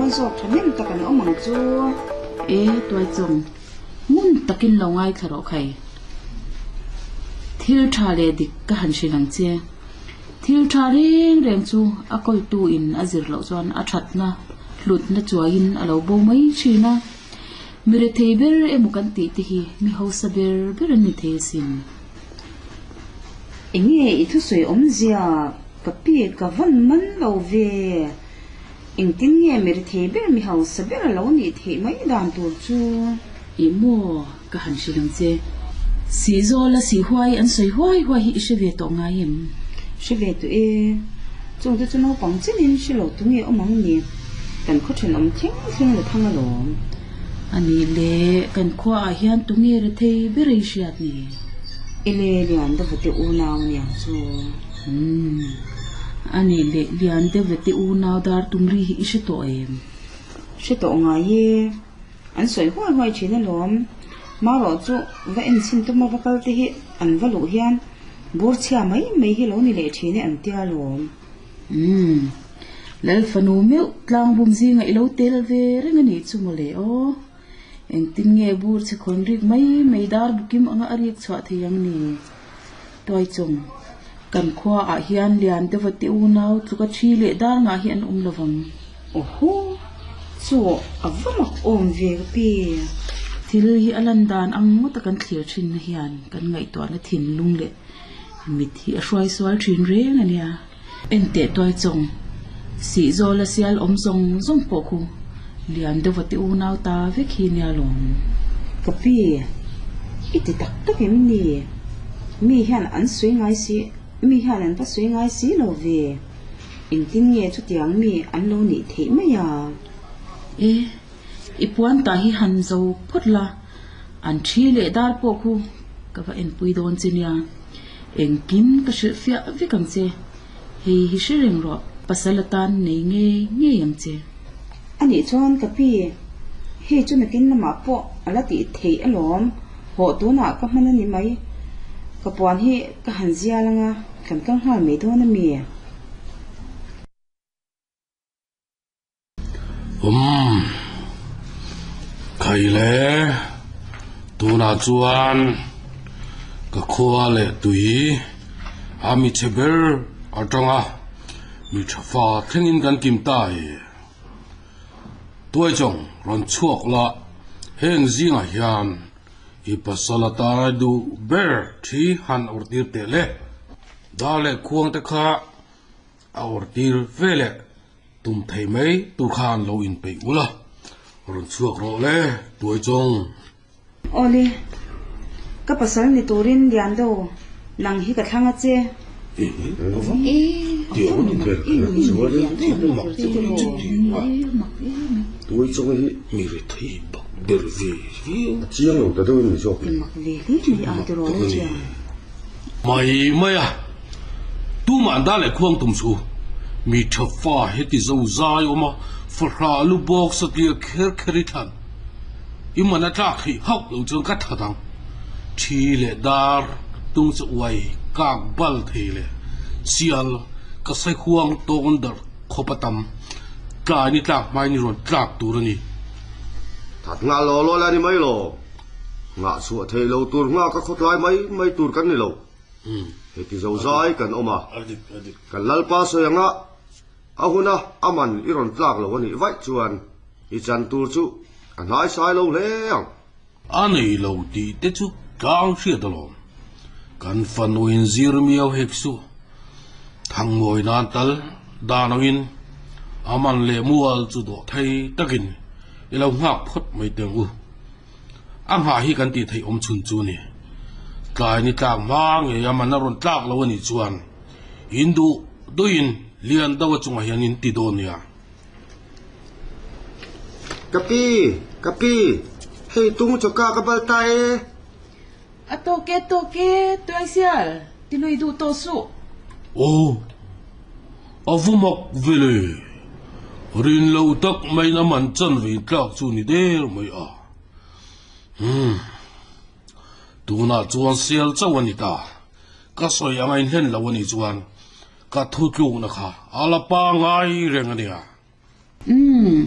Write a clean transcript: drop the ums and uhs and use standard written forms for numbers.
dawn zawk thahnem tak an awm ang chu. E, Tuaichawng, ngun takin lo ngaithla rawh khai. Thil tha leh dik ka han hrilh ang che. Thil tha reng reng chu a kawltu in a zir loh chuan a thatna, hlutna chuaiin a lo bo mai thin a. Mi rethei ber emaw kan tih te hi mi hausa ber ber an ni thei asin. Enge i thusawi awmzia ka pi ka vawn man lo ve. Engtin nge mi rethei ber mi hausa ber a lo nih theih mai dan tur chu? Ih maw ka han hrilh ang che. Sihzawl a sih huai an sawi huai huai hi i hre ve tawh ngai em? Hre ve tawh e. Chungte chu naupang chenin hre lo tu nge awm ang ni? Kan khaw thenawm thleng thleng la thang alawm. A nih le, kan khuaah hian tu nge rethei ber ei hriat ni? Ele Lian Deuhvate unau aniang chu. Umm. A nih le, Lian Deuhvate unau dar tum ri hi i hre tawh em? Hre tawh ngai e. An sawi huai huai thin alawm. Marawh chu va enchhin tuma va kal te hi an va luh hian bur chhia mai mai hi lo ni leh thin e an tia alawm. Umm. Lal fanu meuh tlang bum zinga i lo tel ve reng a nih chu mawle aw. Engtin nge bur chhe khawn rik mai mai dar bukim anga a rik chhuah thei ang ni? Tuaichawng, Kan khua ah hian lian deuha te unau tluka thi leh dar ngah hi an awm lo vang. Awhaw, chu a va mak awm ve ka pi. Thil hi a lan dan ang ngawta kan thlir thin na hian kan ngaihtuahna thinlung leh mit hi a hruai sual thin reng a nia. Enteh Tuaichawng, Sihzawl a sial awm zawng zawng pawh khu lian deuha te unau ta vek hi nia lawm. Ka pi, i ti tak tak em ni? Mi hian an sawi ngai si, mi hian an va sawi ngai si lo ve. Engtin nge chutiang mi an lo nih theih mai a? E, i puan ta hi han zo phawt la, an thi leh dar pawh khu ka va enpui dawn che nia. Engkim ka hrilh fiah vek ang che, hei hi hre reng rawh, pasal atan nei ngei ngei ang che. A nih chuan ka pi, hei chu nakin lamah pawh a la tih theih alawm, hawh tunah ka hman a ni mai, ka puan hi ka han zial anga kan kal nghal mai dawn a mi? Umm, khai le, tunah chuan ka khua leh tui a mi chhe ber atanga mi tha fa thlengin kan kim ta e. Tuaichawng rawn chhuak la, heng zingah hian i pasal atana duh ber thi han awrhtir teh le. Dar leh khuang te kha a awrhtir ve leh. Tum thei mai tur khan lo inpeih ul a, rawn chhuak rawh le, Tuaichawng. Awle, ka pasal ni turin Liando, nang hi ka thlang a che. Tuaichawng hi mi rethei bak ber ve viau. A chiang lo ta deuh in mi zawk ni. Mai mai a, tumah dan leh khuang tum chu mi tha fa heti zo zai awm a, fahrah lu bawk satliah kher kher i thlan. I man a tlak theih hauh lo chuan ka that ang. Thi leh dar tung chu uai kak bal thei leh sial ka sai huang tawn darh khawp a tam. Tlai ni tlak hmai ni rawn tlak tur a ni. That nghah law law la ni mai lo. Nghah chhuah theih lo tur nghah ka khawtlai mai mai tur kan ni lo. Heti zo zai kan awm a, kan Lalpa sawi anga a huna a man i rawn tlak lo a nih vaih chuan i chan tur chu a hnaisai lo hle ang. A nei lo tih te chu tlang hriat alawm. Kan fanuin zir miau hek suh. Thangmawi nan tal dan angin a man leh mual chu dawh thei takin i lo nghak phawt mai teh ang u. A nghah hi kan tih theih awm chhun chu a ni. Tlai ni tlak hma ngei a man a rawn tlak lo a nih chuan in duh duhin lian deuh a chungah hian in ti dawn nia. Ka pi, ka pi, hei tung chawka ka bal ta e. A tawk e, tawk e, Tuaisial, ti lui duh tawh suh. Aw, a va mak ve le. Rin lo tak maiin a man chan ve tlak chu ni der mai a. Umm, tunah chuan sial chauh a ni ta. Ka sawi anga inhlen lo a nih chuan ka thutlukna kha a la pangai reng a nia. Umm.